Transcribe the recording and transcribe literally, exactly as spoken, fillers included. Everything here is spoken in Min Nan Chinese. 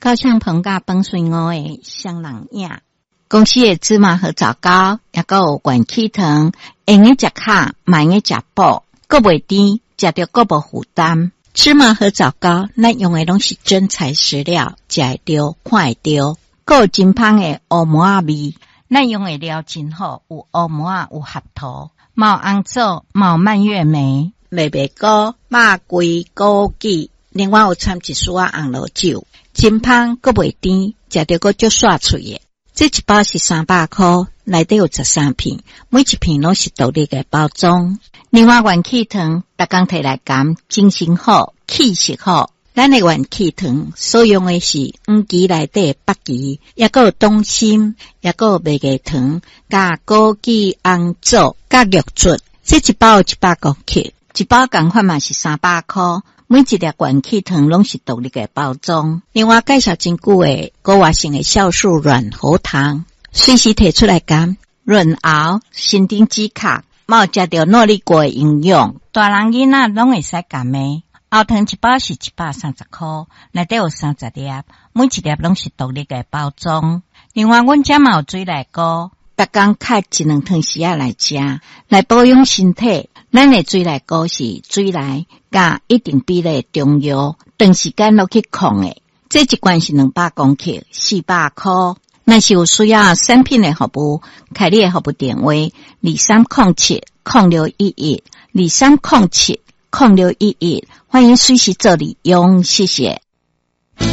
高香彭佮崩水五的双人影。公司的芝麻和棗糕，抑閣有元氣糖，會用得食較，嘛會用得食補，閣袂甜，食著閣無負擔。芝麻和棗糕，咱用的攏是真材實料，食會著，看會著，閣有真芳的烏梅仔味。咱用的料真好，有烏梅仔，有合桃，嘛有紅棗，嘛有蔓越莓、麥麥菇、肉桂、枸杞，另外有摻一絲仔紅露酒，真芳閣袂甜，食著閣足煞喙的。這一包是三百箍，內底有十三片，每一片攏是獨立的包裝。另外，元氣糖，逐工提來含，精神好，氣色好。咱的元氣糖所用的是黃芪內底的北芪，抑閣有黨參，抑閣有麥芽糖，佮枸杞、紅棗、佮玉竹。這一包有一百公克，一包仝款嘛是三百箍。每一粒元氣糖攏是獨立的包裝。另外介紹真久的高活性的酵素軟喉糖，隨時提出來含，潤喉、神經止咳，嘛有食著諾麗果的營養，大人囡仔攏會使含的。喉糖一包是一百三十箍，內底有三十粒，每一粒攏是獨立的包裝。另外，阮遮嘛有水內菇，逐工開一兩湯匙仔來食，來保養身體。咱的水內菇是水內佮一定比例中藥，長時間落去控的。這一罐是兩百公克，四百箍。若是有需要產品的服務，開你的服務電話：二三空七空六一一，二三空七空六一一，歡迎隨時做利用，謝謝。